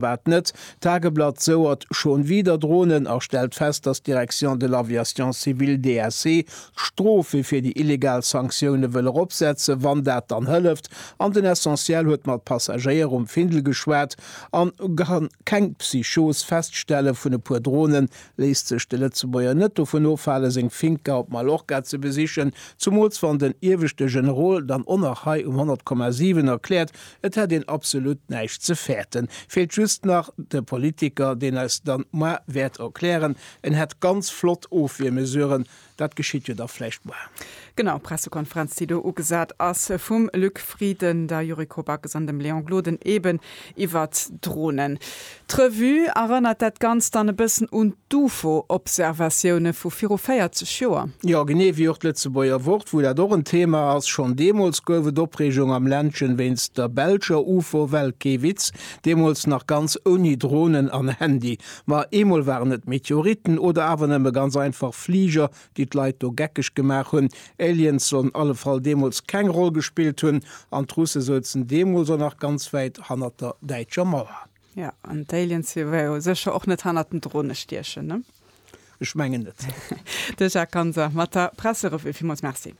Wat net? D'Tageblatt souert schon wieder Drohnen a stellt fest, datt d'Direction de l'Aviation civile, DAC, d'Strofe fir déi illegal Sanktioune wëll eropsetzen, wann dat dann hëlleft. An den Essentiel huet mat Passagéier um Findel geschwat an kann keng Psychos feststellen. Vun e puer Drohnen léisst sech de Lëtzebuerger net dovun ofhalen, seng Finca op Mallorca ze besichen, zumools wann den ieweschte Generol dann och nach hei um 100,7 erkläert, Et hätt een absolut näischt ze fäerten. Feelt just nach de Politiker, deen eis dann moar wäert erklären, en hätt ganz flott Ofwiermesuren. Dat geschitt jo da vläicht moar. Genau, Pressekonferenz, déi do ugesat ass vum Luc Frieden, der Yuriko Backes an dem Léon Gloden eben iwwert d'Dronen. D'Revue erënnert dat Ganzt dann e bëssen un d'UFO-Observatioune vu viru 40 Joer. Jo, genee wéi och d'Lëtzebuerger Wort, wou dat och en Thema ass. Schonn deemools gouf et Opreegung am Ländchen wéinst der belscher UFO-Well. Kee Witz, deemools nach ganz ouni Dronen an Handy. Ma eemol waren et Meteoriten oder awer nëmme ganz einfach Fliger, déi d'Leit do geckeg gemaach hunn. Aliens sollen alle Fall deemools keng Roll gespillt hunn an d'Russe souzen deemools och nach ganz wäit hannert der däitscher Mauer. Jo, an d'Aliens si jo sécher och net hannert den Drone stiechen, ne? Ech mengen net. De Jacques Ganser mat der Presserevue. Villmools Merci.